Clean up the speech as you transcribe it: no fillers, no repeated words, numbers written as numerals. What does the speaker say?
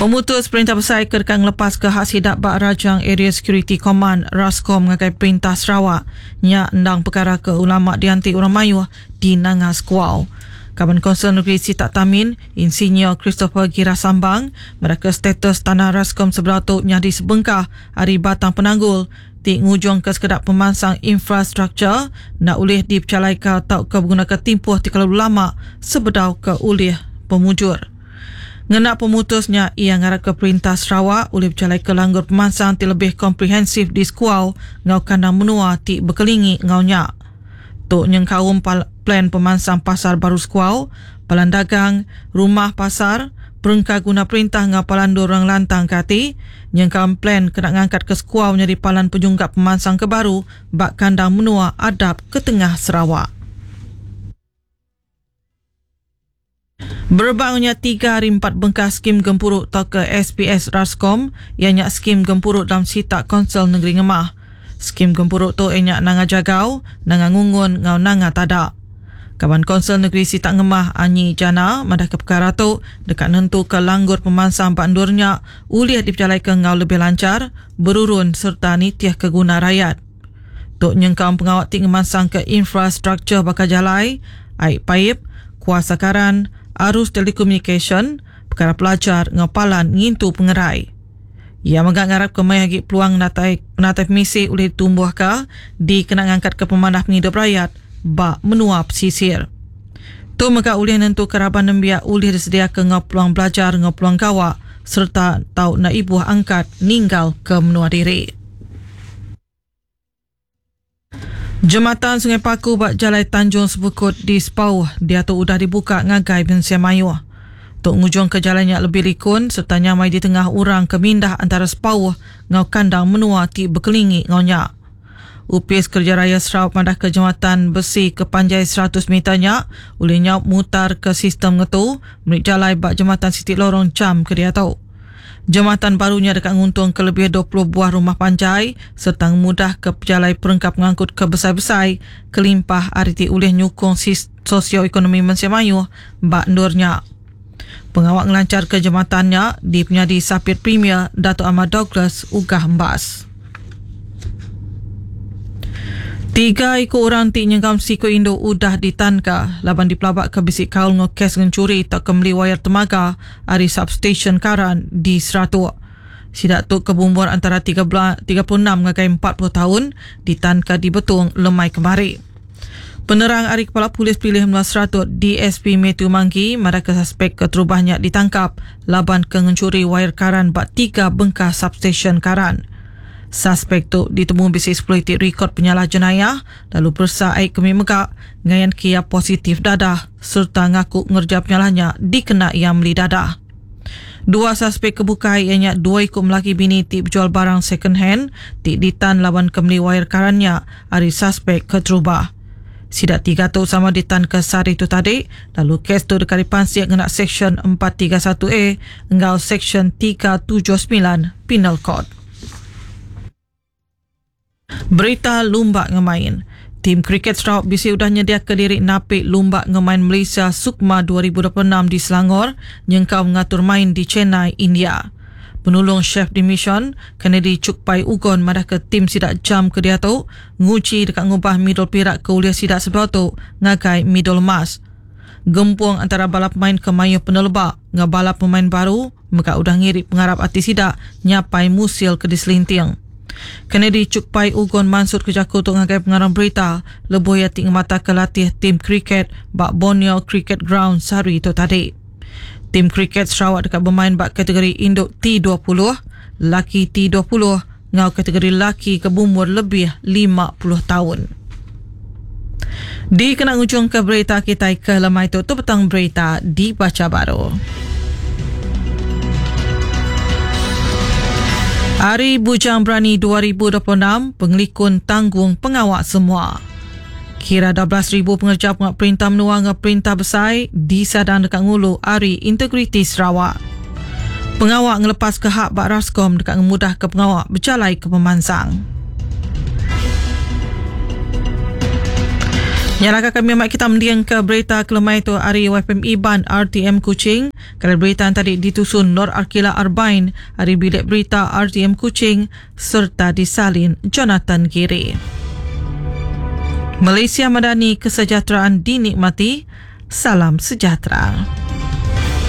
Pemutus Perintah Besai ke deka ngelepaska hak sida ba Rajang Area Security Command, Rascom, ngagai Perintah Sarawak nya endang pekara ke ulama dianti orang mayuh di Nanga Sekuau. Kaban Kaunsil Negeri Sitak Tamin, Insinyur Christopher Gira Sambang madahka status tanah Rascom sebedau tu nyadi sebengkah ari batang penanggul ti ngujungka sekeda pemansang infrastruktur enda ulih dipejalaika tauka begunaka timpuh ti kelalu lama sebedau ke ulih pemujur. Ngena pemutus nya, iya ngarapka Perintah Sarawak ulih bejalaika langgur pemansang ti lebih komprehensif di Sekuau enggau kandang menua ti bekelingi enggau nya. Tu nyengkaum plan pemansang pasar baru Sekuau, palan dagang, rumah pasar, perengka guna perintah enggau palan endur orang lantang ke ati, nyengkaum plan kena ngangkatka Sekuau nyadi palan penyunggap pemansang ke baru ba kandang menua adap ke tengah Sarawak. Berebak enggau nya, tiga ari empat bengkah skim gempuru tauka SPS Rascom iya nya skim gempuru dalam sitak Kaunsil Nengeri Ngemah. Skim gempuru tu iya nya Nanga Jagau, Nanga Ngungun enggau Nanga Tada. Kaban Kaunsil Negeri Sitak Ngemah Anyi Jana madahka pekara tu deka nentuka langgur pemansang ba endur nya ulih dipejalaika enggau lebih lanchar, berurun sereta nitihka guna rayat. Tu nyengkaum pengawa ti ngemansangka infrastruktur baka jalai, ai paip, kuasa karan, arus telekomunikasyen, pekara pelajar enggau palan ngintu pengerai. Iya mega ngarapka mayuh agi peluang natai penatai pemisi ulih ditumbuhka dikena ngangkatka pemanah pengidup rayat ba menua pesisir. Tu mega ulih nentuka raban nembiak ulih disediaka enggau peluang belajar enggau peluang gawa sereta tau enda ibuh angkat ninggalka menua diri. Jematan Sungai Paku ba Jalai Tanjung Sebukut di Sepauh diatu udah dibuka ngagai mensia mayuh. Tu ngujungka jalai nya lebih likun sereta nyamai ditengah orang ke mindah antara Sepauh enggau kandang menua ti bekelingi enggau nya. Opis Kereja Raya Sarawak madahka jematan besi ke panjai 100 meter nya ulih nyaup mutarka sistem ngetu meri jalai ba jematan siti lorong jam ke diatu. Jematan baru nya deka nguntungka lebih 20 buah rumah panjai sereta ngemudahka pejalai perengka pengangkut ke besai-besai kelimpah ari ti ulih nyukung sosioekonomi mensia mayuh ba endur nya. Pengawa ngelancharka jematan nya dipenyadi Sapit Premier Datuk Amar Douglas Uggah Embas. Tiga iku orang ti nyengkaum siku indu udah ditanka laban dipelabaka bisi kaul enggau kes ngenchuri tauka meli wayar temaga ari substesyen karan di Seratok. Sida tu ke beumur antara 36 ngagai 40 taun ditanka di Betong lemai kemari. Penerang ari Kepala Polis Pelilih Menua Seratok DSP Mathew Manggi madahka suspek keterubah nya ditangkap laban ke ngenchuri wayar karan ba tiga bengkah substesyen karan. Suspek tu ditemu bisi sepuluh iti rikod penyalah jenayah lalu peresa ai kemi mega ngayanka iya positif dadah sereta ngaku ngereja penyalah nya dikena iya meli dadah. Dua suspek ke bukai iya nya dua iku melaki bini ti bejual barang second hand ti ditan laban ke meli wayar karan nya ari suspek keterubah. Sida tiga tu sama ditanka sehari tu tadi lalu kes tu deka dipansik ngena Seksyen 431 A enggau Seksyen 379 Penal Code. Berita lumba ngemain. Tim kriket Sarawak bisi udah nyediaka diri napi Lumba Ngemain Malaysia Sukma 2026 di Selangor nyengkaum ngatur main di Chennai, India. Penulung Chef de Mission, Kennedy Chukpai Ugon madahka tim sida jam ke diatu nguji deka ngubah midul pirak ke ulih sida sebedau tu ngagai midul emas. Gempung antara bala pemain ke mayuh peneleba enggau bala pemain baru mega udah ngiri pengarap ati sida nyapai musil ke diselinting. Kennedy Chukpai Ugon mansutka jaku tu ngagai pengarang berita lebuh iya ti ngemataka latih tim kriket ba Borneo Cricket Ground sehari tu tadi. Tim kriket Sarawak deka bemain ba kategori indu T20, laki T20 enggau kategori laki ke beumur lebih 50 taun. Dikena ngujungka berita kitai ke lemai tu, tu petang berita dibacha baru. Hari Bujang Berani 2026, pengelikun tanggung pengawa semua. Kira 12,000 pengereja pengawa perintah menua enggau perintah besai disadang deka ngulu Hari Integriti Sarawak. Pengawa ngelepaska hak ba Rascom deka ngemudahka pengawa bejalaika pemansang. Nyalaka kami amat kita mendingka berita kelemai tu ari YFM Iban RTM Kuching. Kalau berita tadi ditusun Nur Arkila Arbain ari Bilik Berita RTM Kuching serta disalin Jonathan Giri. Malaysia Madani kesejahteraan dinikmati. Salam sejahtera.